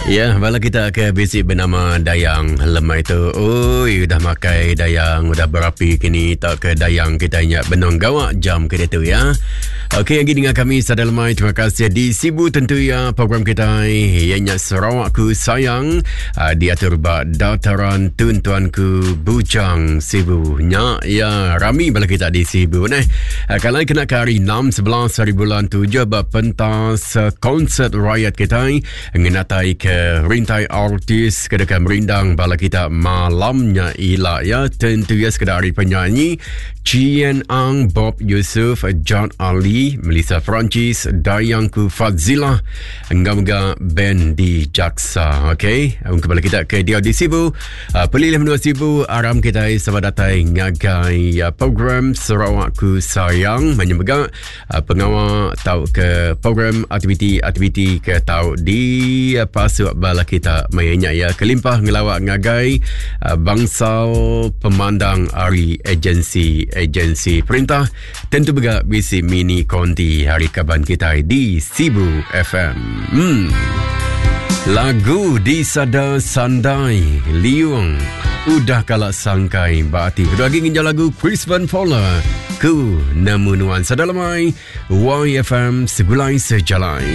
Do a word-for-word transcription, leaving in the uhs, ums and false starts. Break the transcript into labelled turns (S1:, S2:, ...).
S1: Ya, bala kita ke bisi benama Dayang lemai tu. Oi, udah makai Dayang, udah berapi kini tak ke Dayang kita nya benung gawa jam ke tu ya. Okey, lagi dengan kami sada lemai. Terima kasih di Sibu tentu ya program kita ianya Sarawakku Sayang uh, diatur ba dataran Tun Tuanku Bujang Sibu. Nya ya rami bala kita di Sibu neh. Uh, kalau kena ke hari enam sebelas hari bulan tujuh ba pentas uh, konsert rakyat kita ngenatai ke rintai artis ke deka merindang bala kita malamnya ila ya. Tentu ya sekedar hari penyanyi Chien Ang, Bob Yusuf, John Ali, Melissa Francis, Dayangku Fadzillah, enggau band di Jaksa. Okey, kembali kita ke dia di Sibu. Uh, Pelilih menua Sibu, aram kita sama datai ngagai uh, program Sarawakku Sayang menyemega uh, pengawal tau ke program aktiviti-aktiviti ke tau di uh, pasuk bala kita mainnya ya kelimpah ngelawak ngagai uh, bangsal pemandang ari agensi-agensi perintah tentu juga bisi mini konti hari kaban kita di Sibu F M. Hmm. Lagu di sada sandai liung udah kalak sangkai berarti. Kedua lagi nginjau lagu Chris Van Fowler ku nemu nuan sada lemai Y F M segulai sejalai.